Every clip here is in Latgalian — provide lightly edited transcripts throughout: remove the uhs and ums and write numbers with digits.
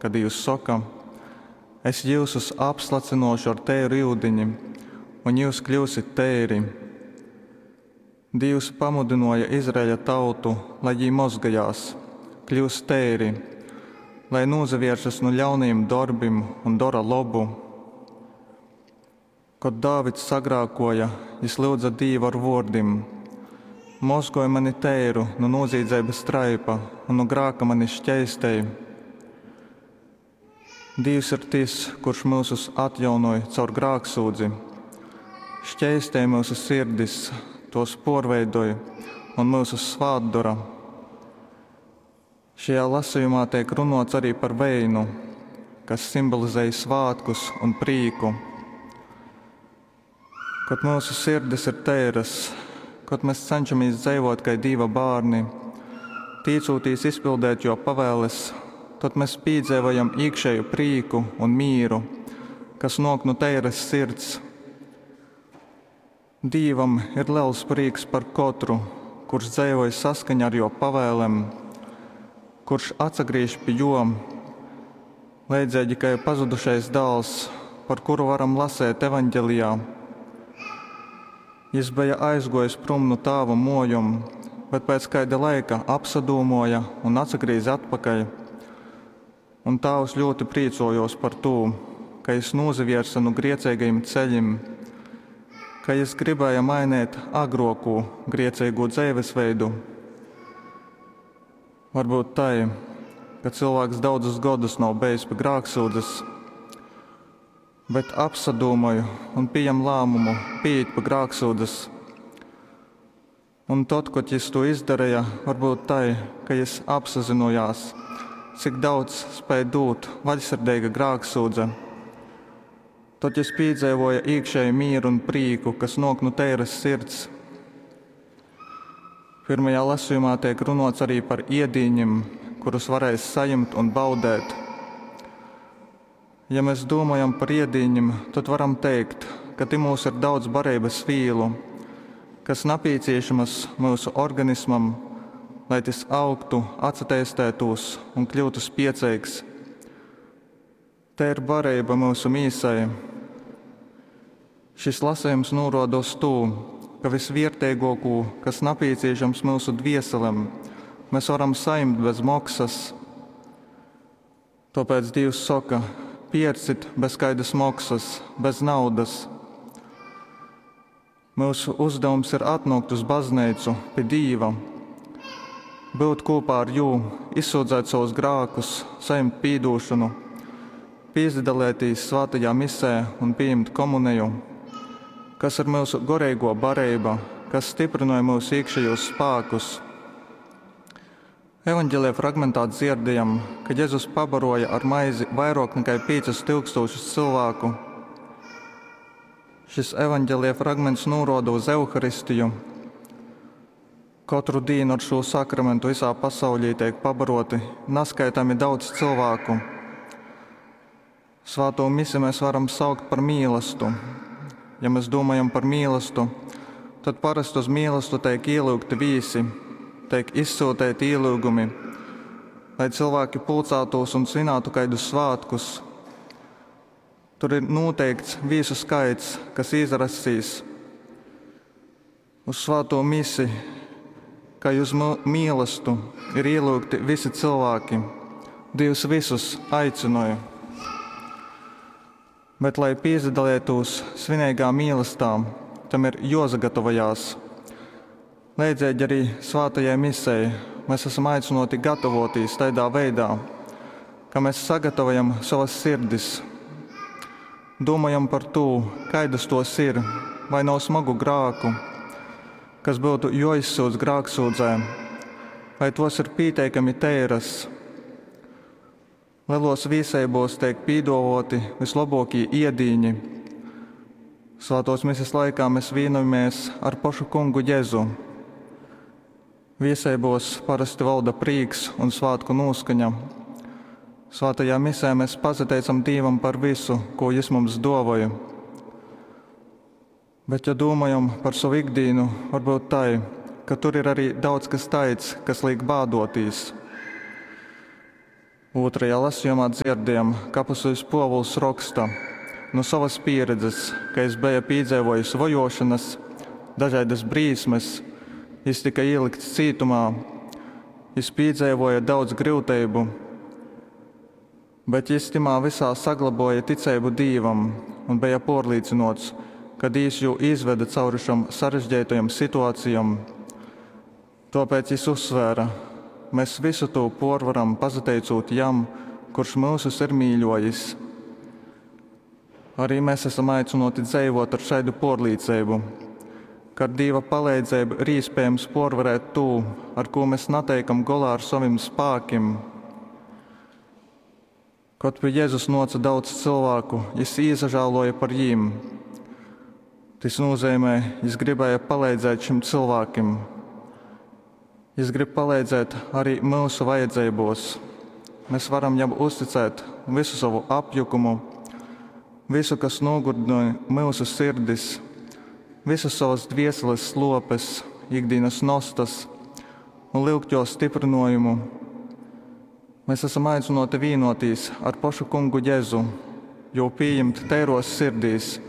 ka Dīvs soka, Es jyusus apslacynōšu ar teiru yudini, un jyus kļyusit teiri. Dīvs pamudynōja Izraeļa tautu, lai jī mozgojās, kļyust teiri, lai nūsavēršas nu ļaunajim dorbim un dora lobu. Kod Dāvids sagrākōja, jys lyudze Dīvu ar vōrdim, Mozgoj mani teiru nu nūzīdzeibas traipa un nu grāka mani škeistej. Dīvs ir tys, kurš myusus atjaunoj caur grāksyudzi, škeistej myusu sirdis, tōs pōrveidoj un myusus svātdora. Šajā lasejumā teik runōts ari par veinu, kas simbolizej svātkus un prīku. Kod myusu sirdis ir teiras, kod mes cenšamīs dzeivōt kai Dīva bārni, tīcūtīs izpildeit Jō pavēles, tod mes pīdzeivojam īkšēju prīku un mīru, kas nōk nu teiras sirds. Dīvam ir lels prīks par kotru, kurš dzeivoj saskaņā ar Jō pavēlem, kurš atsagrīž pi Jō, leidzeigi kai pazudušais dāls, par kuru varam lasēt Evaņgelijā. Jis beja aizguojis prom nu tāva muojom, bet pēc kaida laika apsadūmuoja un atsagrīze atpakaļ. Un tāvs ļūti prīcuojuos par tū, ka jis nūsaviersa nu grieceigajim ceļim, ka jis gribēja mainēt agruokū grieceigū dzeivesveidu. Varbyut tai, ka cylvāks daudzus godus nav bejis pi grāksyudzes, bet apsadūmoj un pījem lāmumu pīīt pi grāksyudzes. Un tod, kod jis tū izdareja, varbyut tai, ka jis apsazynojās, cik daudz spēj dūt vaļsirdeiga grāksyudze. Tod jis pīdzeivoja īkšēju mīru un prīku, kas nōk nu teiras sirds. Pirmajā lasījumā tiek runots arī par iedīņim, kurus varēs sajimt un baudēt. Ja mēs domājam par iedīņim, tad varam teikt, ka tymūs ir daudz barības vīlu, kas napīciešamas myusu organismam, lai tys augtu, atsateistētūs un kļūtu spieceigs. Te ir barība myusu mīsai. Šis lasījums nūroda uz tū, ka visviertīgākū, kas napīciešams myusu dvieselem, mēs varam saņemt bez moksas. Tāpēc Dievs saka, piercit bez kaidas moksas, bez naudas. Mūsu uzdevums ir atnākt uz baznīcu pie Dīva, būt kopā ar Jū, izsūdzēt savus grākus, saņemt pīdūšanu, pīsadalētīs svētajā misē un pieņemt komuneju, kas ir mūsu goreigo barība, kas stiprināja mūsu iekšējos spēkus. Evanģēlijā fragmentā dzirdējam, ka Jēzus pabaroja ar maizi vairāk nekā 5000 cilvēku. Šis evanģēlija fragments norāda uz Euharistiju. Katru dienu ar šo sakramentu visā pasaulī tiek pabaroti neskaitāmi daudz cilvēku. Svēto misi mēs varam saukt par mīlestu. Ja mēs domājam par mīlestu, tad parasti uz mīlestu tiek ielūgti visi, tiek izsūtīti ielūgumi, lai cilvēki pulcētos un svinētu kādus svētkus. Tur ir noteikts viesu skaits, kas izrasīs uz svēto misi, kā uz mīlestu, ir ielūgti visi cilvēki. Dievs visus aicināja. Bet, lai piedalītos svinīgā mīlestā, tam ir jāsagatavojās. Leidzīgi arī svētajai misei mēs esam aicināti gatavoties tādā veidā, ka mēs sagatavojam savas sirdis, domājam par to, kādas tos ir, vai nav smagu grāku, kas būtu jāizsūdz grāksūdzē, vai tos ir pieteikami teiras. Lielos vīseibos tiek pīdovoti vislabākie iedīņi. Svētos mises laikā mēs vienojamies ar pašu kungu Jēzu. Vieseibos parasti valda prīks un svētku noskaņa. Svētajā misē mēs pasateicam Dievam par visu, ko Jis mums dāvāja. Bet, ja domājam par savu ikdienu, varbūt tai, ka tur ir arī daudz kas tāds, kas liek bādotīs. Ūtrajā lasejumā dzierdējam, ka apustuļs Puovuls roksta nu sovas pīredzes, ka jis beja pīdzeivojis vojuošonys, dažaidys brīsmys, jis tyka īlykts cītumā, jis pīdzeivuoja daudz gryuteibu. Bet jis tymā vysā saglobuoja ticeibu Dīvam un beja puorlīcynuots, ka Dīvs jū izvede cauri šom sarežgeitajom situacijom. Tuopēc jis uzsvēra, Mes vysu tū puorvaram pasateicūt Jam, kurš myusus ir mīļuojis. Arī mes asam aicynuoti dzeivuot ar šaidu puorlīceibu, ka ar Dīva paleidzeibu ir īspējams puorvarēt tū, ar kū mes nateikam golā ar sovim spākim. Kod pi Jezus nuoca daudz cylvāku, jis īsažāluoja par jīm. Tys nūzeimē, jis gribēja paleidzēt šim cylvākim. Jis grib paleidzēt arī myusu vajadzeibos. Mes varam jam uzticēt vysu sovu apjukumu, vysu, kas nūgurdynoj myusu sirdis, visas sovas dvieseles sluopes, ikdīnas nostas un lyugt juo styprynuojumu. Mēs esam aicynuoti vīnuotīs ar pošu Kungu Jezu, jū pījimt teiruos sirdīs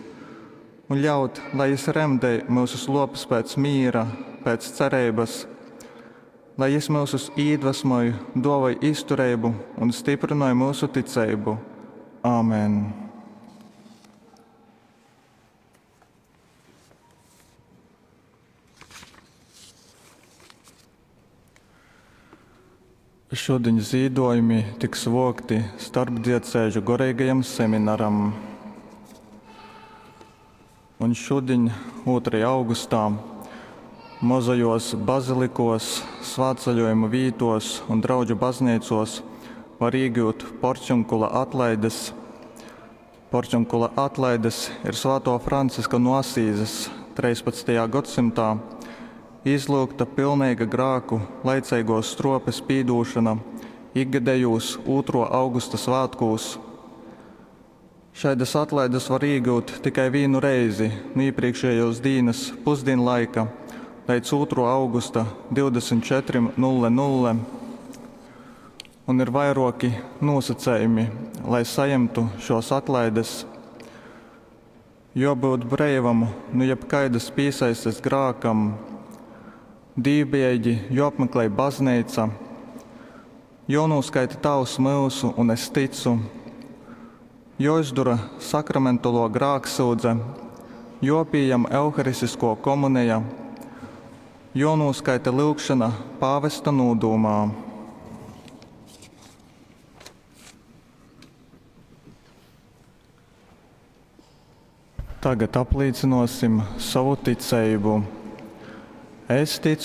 un ļaut, lai Jis remdej myusu sluopes pēc mīra, pēc cereibys, lai Jis myusus īdvesmoj, duovoj iztureibu un styprynoj myusu ticeibu. Āmen! Šudiņ zīdojumi tiks vuokti starpdiecēžu goreigajam seminaram. Un šudiņ, 2. augustā, mozajuos bazilikuos, svātceļuojumu vītuos un draudžu bazneicuos var īgiut porciunkula atlaidys. Porciunkula atlaidys ir Svātuo Franciska nu Asīzes 13. godsymtā izlyugta pilneiga grāku laiceiguos struopes pīdūšona ikgadejūs 2. augusta svātkūs. Šaidys atlaidys var īgyut tikai vīnu reizi nu īprīkšējuos dīnys pusdīnlaika leidz 2. augusta 24.00. Un ir vairuoki nūsacejumi, lai sajemtu šuos atlaidys. Juobyut breivam nu jebkaidys pīsaistes grākam, dīvbijeigi juoapmeklej bazneica, juonūskaita Tāvs myusu un Es ticu, juoizdora sakramentaluo grāksyudze, juopījam Euharistiskuo komuneja, juonūskaita lyugšona pāvesta nūdūmā. Tagad aplīcynuosim sovu ticeibu. Es ticu